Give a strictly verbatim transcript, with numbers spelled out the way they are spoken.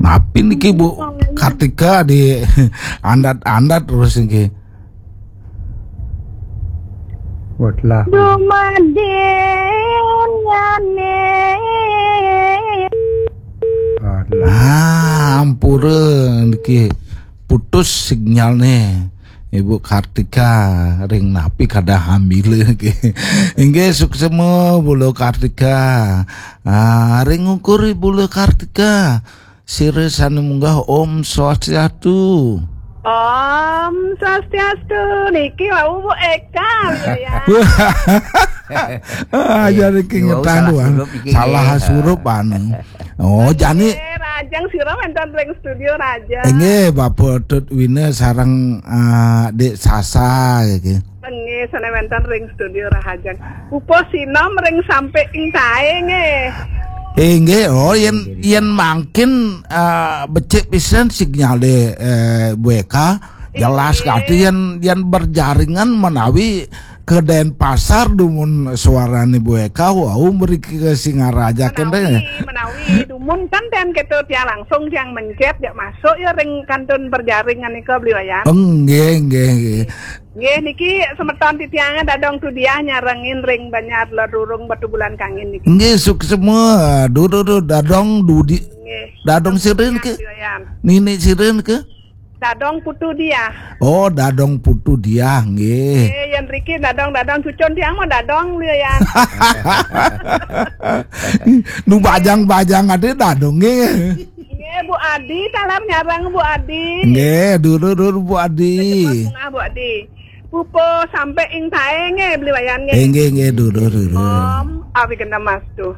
Napi niki Bu Kartika di andat-andat terus niki. Wetlah. Dumadin nyane. Alah. Ah, ampura niki putus sinyalne. Ibu Kartika ring napi kada hamil nggih. Inggih suksema Bula Kartika. Ah, ring ukur Bula Kartika. Sira sane munggah Om Swastiastu. Om Swastiastu. Niki wau Bu Eka ya. Ah, jadi Iya, keingetan salah tuan. Surup iki. Salah surup anu. Oh, jani. Eh, Rajang sira wenten ring studio Rajang. Inggih, Bapak Tut Wina sareng ah, Dik Sasa iki. Nggih, sane wenten ring studio Rahajeng. Pupuh sinom ring samping tae nggih. Inggih, oh yen yen mangkin ah, becik pisan sinyale eh, Bu Eka. Jelas kati yen yen berjaringan menawi ke Denpasar dumun suarane Bu Eka wau mriki ke Singaraja kene. Menawi, menawi dumun kan ten keto tiang langsung tiang mencet ya masuk ya ring kantun berjaringan nika Bli Wayan. Nggih, nggih, nggih. Nggih, niki semeton titiange Dadong Tudiah nyarengin ring Banjar Lor Rurung Batu Bulan Kangin niki. Nggih, suksema. Duh, duh, duh, Dadong Dudi. Nggih. Dadong sira ke? Bli Wayan. Nini sira ke? Dadong Putu Diah. Oh, Dadong Putu Diah, nggih. Eh, yen riki Dadong-Dadong cucun tiang mah Dadong Bli Wayan. Nu bajang-bajang ade Dadong nggih. Nggih, Bu Adi, taler nyareng Bu Adi. Nggih, duh, duh, duh, Bu Adi. Bunga Bu Adi. Pupuh sampe ing tae nggih Bli Wayan nggih. Eh, nggih, nggih, duh, duh, duh, duh. Om, awi kena mas tuh.